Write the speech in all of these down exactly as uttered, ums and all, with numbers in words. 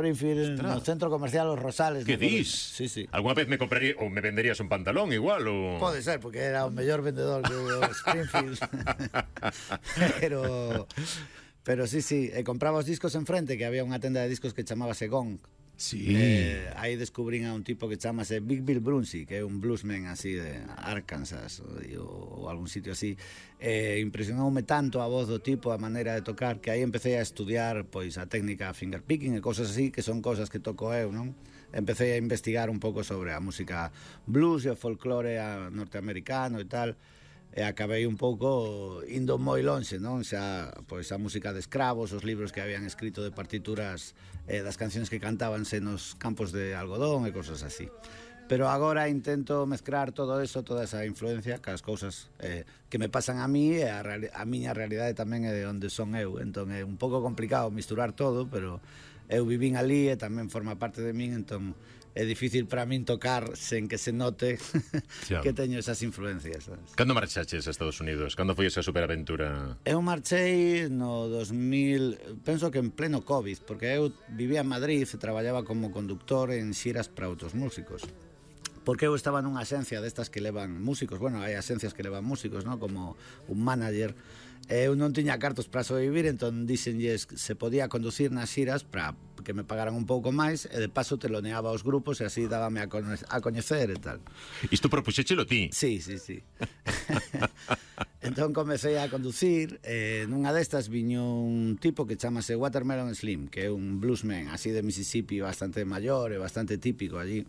Springfield, Ostras. no centro comercial Os Rosales. Que no dis? Sí, sí. Alguna vez me compraría ou me venderías un pantalón igual ou... Pode ser, porque era o mellor vendedor que o Springfield. pero pero sí, sí, e compraba os discos enfrente, que había unha tenda de discos que chamábase Gong. Sí. Eh, aí descubrín a un tipo que chamase Big Bill Brunsey, que é un bluesman así de Arkansas ou, ou algún sitio así. Eh, impresionoume tanto a voz do tipo, a maneira de tocar, que aí empecé a estudiar pois a técnica fingerpicking e cosas así, que son cosas que toco eu, non? Empecé a investigar un pouco sobre a música blues e o folclore norteamericano e tal. E acabei un pouco indo moi lonxe, non? Xa, pois a música de escravos, os libros que habían escrito de partituras eh, das cancións que cantábanse nos campos de algodón e cosas así. Pero agora intento mezclar todo eso, toda esa influencia, que as cousas eh, que me pasan a mí e a, a miña realidade tamén é de onde son eu. Entón é un pouco complicado misturar todo, pero eu vivín ali e tamén forma parte de min, entón é difícil para min tocar sen que se note que teño esas influencias, sabes? Cando marchaches a Estados Unidos? Cando foi esa superaventura? Eu marchei no dos mil, penso que en pleno COVID, porque eu vivía en Madrid e traballaba como conductor en xiras para outros músicos. Porque eu estaba nunha axencia destas que levan músicos, bueno, hai axencias que levan músicos, ¿no? Como un manager. Eu non tiña cartos para sobrevivir, entón díxenlles que se podía conducir nas xiras para que me pagaran un pouco máis e de paso teloneaba os grupos e así dábame a, cono a coñecer e tal. Isto propuxéchelo ti? Sí, sí, sí. Entón comecei a conducir e nunha destas viño un tipo que chamase Watermelon Slim, que é un bluesman así de Mississippi bastante maior e bastante típico allí.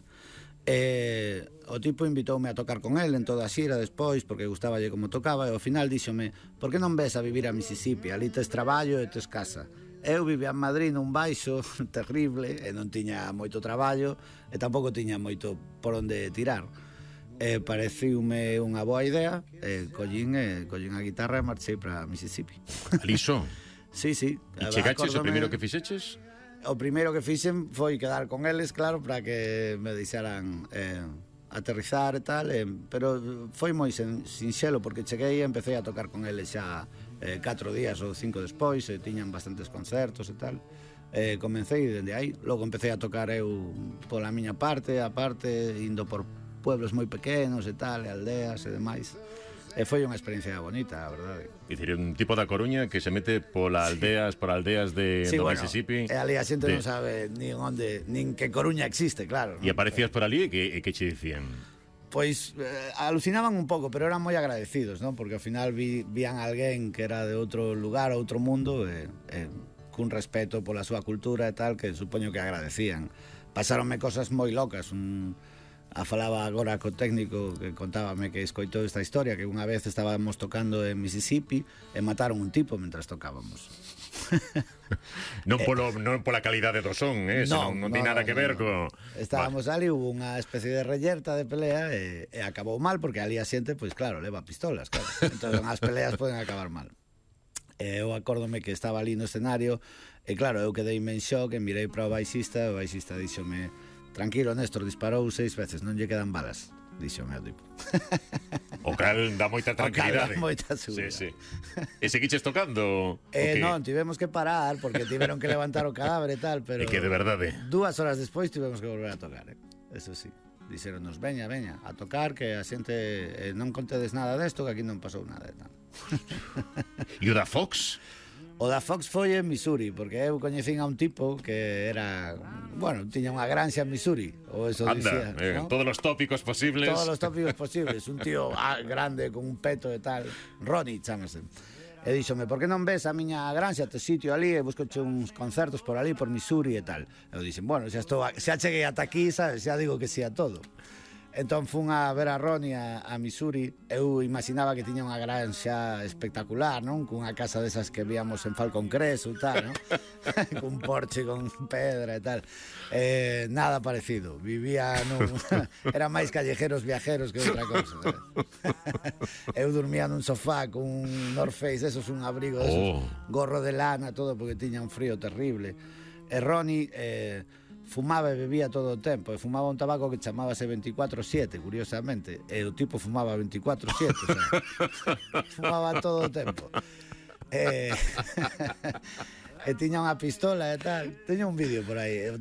E o tipo invitoume a tocar con el en toda a xira despois porque gustaballe como tocaba e ao final díxome: por que non ves a vivir a Mississippi? Ali tes traballo e tes casa. Eu vivía en Madrid nun baixo terrible e non tiña moito traballo e tampouco tiña moito por onde tirar. E pareciume unha boa idea e collín, e collín a guitarra e marchei para Mississippi. Aliso? Sí, sí. E chegaches o primeiro que fixeches? O primeiro que fixen foi quedar con eles, claro, para que me deixaran eh, aterrizar e tal, eh, pero foi moi sen, sinxelo, porque cheguei e empecé a tocar con eles xa eh, catro días ou cinco despois, e tiñan bastantes concertos e tal. Eh, comecei dende aí, logo empecé a tocar eu pola miña parte, a parte, indo por pueblos moi pequenos e tal, e aldeas e demais. E foi unha experiencia bonita, a verdade. Dicir, un tipo da Coruña que se mete pola aldeas, por aldeas de sí, do bueno, Mississippi. E ali a xente de... non sabe nin onde, nin que Coruña existe, claro. E aparecías por ali e que, e que che dicían? Pois eh, alucinaban un pouco, pero eran moi agradecidos, ¿no? Porque ao final vi, vían a alguén que era de outro lugar, outro mundo, e, e cun respeto pola súa cultura e tal, que supoño que agradecían. Pasáronme cosas moi locas, un... A falaba agora co técnico que contábame que escoitou esta historia, que unha vez estábamos tocando en Mississippi e mataron un tipo mentras tocábamos. Non polo non pola calidade do son, eh, non, non, non no, ten nada no, que no, ver no. co... Estábamos vale. Ali, hubo unha especie de reyerta de pelea e, e acabou mal, porque ali a xente, pois claro, leva pistolas, claro. Entón as peleas poden acabar mal. E eu acórdome que estaba ali no escenario e claro, eu quedei en shock e mirei para o baixista e o baixista díxome: tranquilo, Néstor, disparou seis veces, non lle quedan balas. Dixo o meu tipo. O cal dá moita tranquilidade. O cal dá moita subida. Sí, sí. E seguiches tocando? Eh, non, tivemos que parar porque tiveron que levantar o cadáver e tal, pero... É que de verdade. Dúas horas despois tivemos que volver a tocar, eh? Eso sí. Dixeronos, veña, veña, a tocar, que a xente eh, non contedes nada desto, que aquí non pasou nada e tal. E o da Fox? O da Fox foi en Missouri, porque eu coñecín a un tipo que era, bueno, tiña unha granxa en Missouri, ou eso Anda, dicía, eh, ¿no? Todos os tópicos posibles. Todos os tópicos posibles, un tío ah, grande con un peto e tal, Ronnie chamase. E díxome, por que non ves a miña granxa, te sitio ali, e buscoche uns concertos por ali, por Missouri e tal. Eu dixen, bueno, xa, estou, xa cheguei ata aquí, sabes, xa digo que sí a todo. Entón fun a ver a Ronnie a, a Missouri. Eu imaginaba que tiña unha granxa espectacular, non? Cunha casa desas que víamos en Falcon Crest ou tal, non? Cun porche con pedra e tal. Eh, nada parecido. Vivía nun... Era máis callejeros viajeros que outra cousa, sabes? Eu dormía nun sofá con un North Face, esos, un abrigo esos, oh. gorro de lana, todo, porque tiña un frío terrible. E Ronnie... Eh, fumaba e bebía todo o tempo, e fumaba un tabaco que chamábase veinticuatro siete, curiosamente, e o tipo fumaba veinticuatro siete, o sea, fumaba todo o tempo. E, e tiña unha pistola e tal. Teño un vídeo por aí.